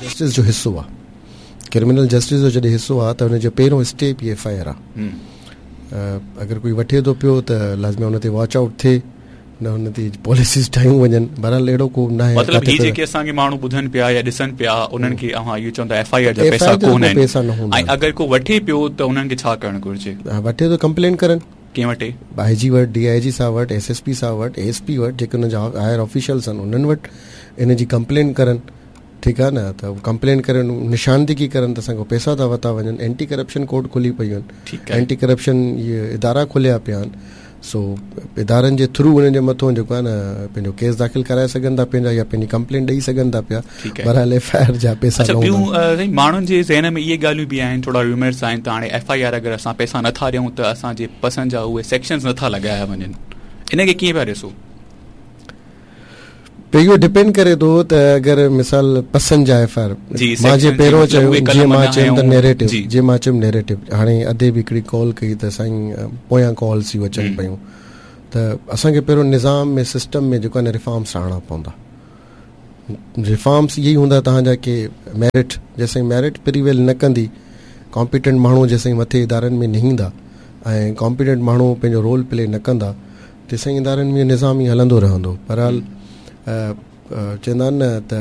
Justice جو حصو آ. ڪرمنل جسٽس جو جڏهن حصو آ ته ان جو پهريون اسٽيپ ئي ايف I R آ. اگر ڪوئي وٺي ٿو پيو ته لازمي ان تي واچ آئوٽ ٿئي نه ان تي پاليسيز ٺاهيون وڃن. بهرحال اهڙو ڪو ناهي. مطلب هي جيڪي اسان کي ماڻهو ٻڌن پيا يا ڏسن پيا انهن کي اوهان اهو چوندا ايف I R جا پئسا ڪونه آهن ۽ اگر ڪو وٺي پيو ته انهن کي ڇا ڪرڻ گهرجي؟ وٺي ٿو ڪمپلين ڪرن. ڪنهن وٽ؟ آء جي وٽ، ڊي I جي صاحب وٽ، ايس ايس پي صاحب وٽ، اي ايس پي وٽ، جيڪي انهن جا هائر آفيشلز آهن انهن وٽ ان جي ڪمپلين ڪرن. ٺيڪ آهي نه ته ڪمپلين ڪرن نشاندگي ڪرن ته اسان کان پئسا ٿا وتا وڃن. اينٽي ڪرپشن ڪورٽ کلي پيون آهن، اينٽي ڪرپشن اهي ادارا کليا پيا آهن. سو ادارن جي ٿرو انهن جي مٿون جيڪو آهي نه پنهنجو ڪيس داخل ڪرائي سگهن ٿا پنهنجا يا پنهنجي ڪمپلين ڏئي سگهن ٿا پيا. بهرحال ايف I R جا پئسا نه هوندا. اڇا ٻيون ماڻهن جي ذهن ۾ اهي ڳالهيون به آهن ٿورا ريومرز آهن ته هاڻي ايف I R اگر اسان پئسا نٿا ڏيون ته اسان جي پسند جا اهي سيڪشنز نٿا لڳايا وڃن ان کي ڪيئن پيا ڏسو؟ اهو ڊپينڊ ڪري ٿو ته اگر مثال پسند جا ايف I R مان جيئن پهريون چيو جيئن مان چيم ته نيريٽو جيئن مان چيم نيريٽو هاڻي ادي به هڪڙي ڪال ڪئي ته سائين پويان ڪالز اهي اچن پيون ته اسان کي پهريون نظام ۾ سسٽم ۾ جيڪو آهي نه ريفارمس آڻڻا پوندا. ريفارمس اهي ئي هوندا توهان جا ڪي ميرٽ جيسين ميرٽ پريويل نه ڪندي ڪامپيٽنٽ ماڻهو جيسين مٿي ادارن ۾ نه ايندا ۽ ڪامپيٽنٽ ماڻهو پنهنجو رول پلي نه ڪندا تيسين ادارن ۾ نظام ئي هلندو رهندو. بهرحال چوندا آهن نه ته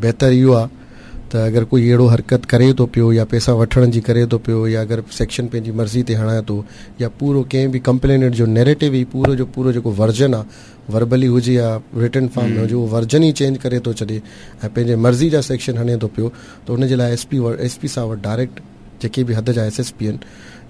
بهتر اهو آهي ته اگر ڪوئي اهڙو حرڪت ڪري ٿو پيو يا پئسا وٺڻ جي ڪري ٿو پيو يا اگر سيڪشن پنهنجي مرضي تي هڻائي ٿو يا پورو ڪنهن به ڪمپلينٽ جو نيريٽو ئي پورو جو پورو جيڪو ورجن آهي وربلي هجي يا رٽن فارم ۾ هجي اهو ورجن ئي چينج ڪري ٿو ڇڏي ۽ پنهنجي مرضي جا سيڪشن هڻي ٿو پيو ته ان جي لاء ايس پي ايس پي صاحب وٽ ڊائريڪٽ جيڪي به حد جا ايس ايس پي آهن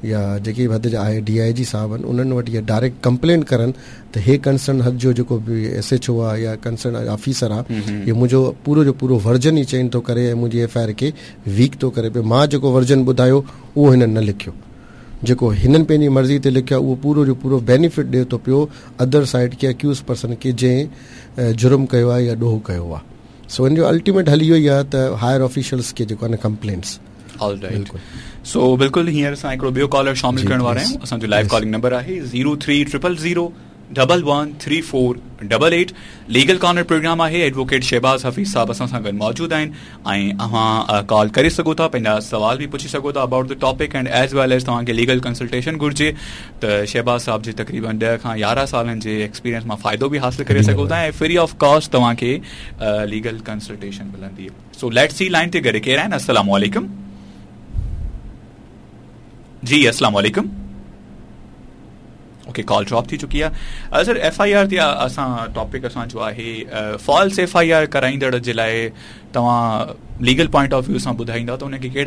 يا جيڪي به حد جا I D I جي صاحب آهن انهن وٽ اهي ڊائريڪٽ ڪمپلين ڪرن ته هي ڪنسرن حد جو جيڪو به ايس ايڇ او آهي يا ڪنسرن آفيسر آهي هي منهنجو پورو جو پورو ورجن ئي چينج ٿو ڪري ۽ منهنجي ايف I R کي ويڪ ٿو ڪري پيو مان جيڪو ورجن ٻڌايو اهو هنن نه لکيو جيڪو هنن پنهنجي مرضي تي لکيو آهي اهو پورو جو پورو بينيفٽ ڏئي ٿو پيو ادر سائيڊ کي اڪيوز پرسن کي جنهن جرم ڪيو آهي يا ڏوهه ڪيو آهي سو ان جو الٽيميٽ حل اهو ئي آهي ته هائر آفيشلز کي جيڪو آهي نه ڪمپلينٽس آل رائيٽ سو بلڪل هينئر اسان هڪڙو ٻيو ڪالر شامل ڪرڻ وارا آهيون اسان جو لائيو ڪالنگ نمبر آهي 03000 113488 ليگل ڪارنر پروگرام آهي ايڊووڪيٽ شهباز حفيظ صاحب اسان سان گڏ موجود آهن ۽ اوهان ڪال ڪري سگهو ٿا پنهنجا سوال به پڇي سگهو ٿا about the topic and as well as توهان کي ليگل ڪنسلٽيشن گهرجي ته شهباز صاحب جي تقريبن 10 کان 11 سالن جي ايڪسپيرينس مان فائدو به حاصل ڪري سگهو ٿا ۽ فري آف ڪاسٽ توهان کي ليگل ڪنسلٽيشن ملندي. سو let's see line تي گڏ ڪير آهن. السلام عليڪم. جي السلام عليڪم. اوڪي ڪال ڊراپ ٿي چڪي آهي. سر ايف I R تي اسان ٽاپڪ اسان جو آهي فالس ايف I R ڪرائيندڙ جي لاء توهان ليگل پوائنٽ آف ويو سان ٻڌائيندا ته ان کي ڪهڙا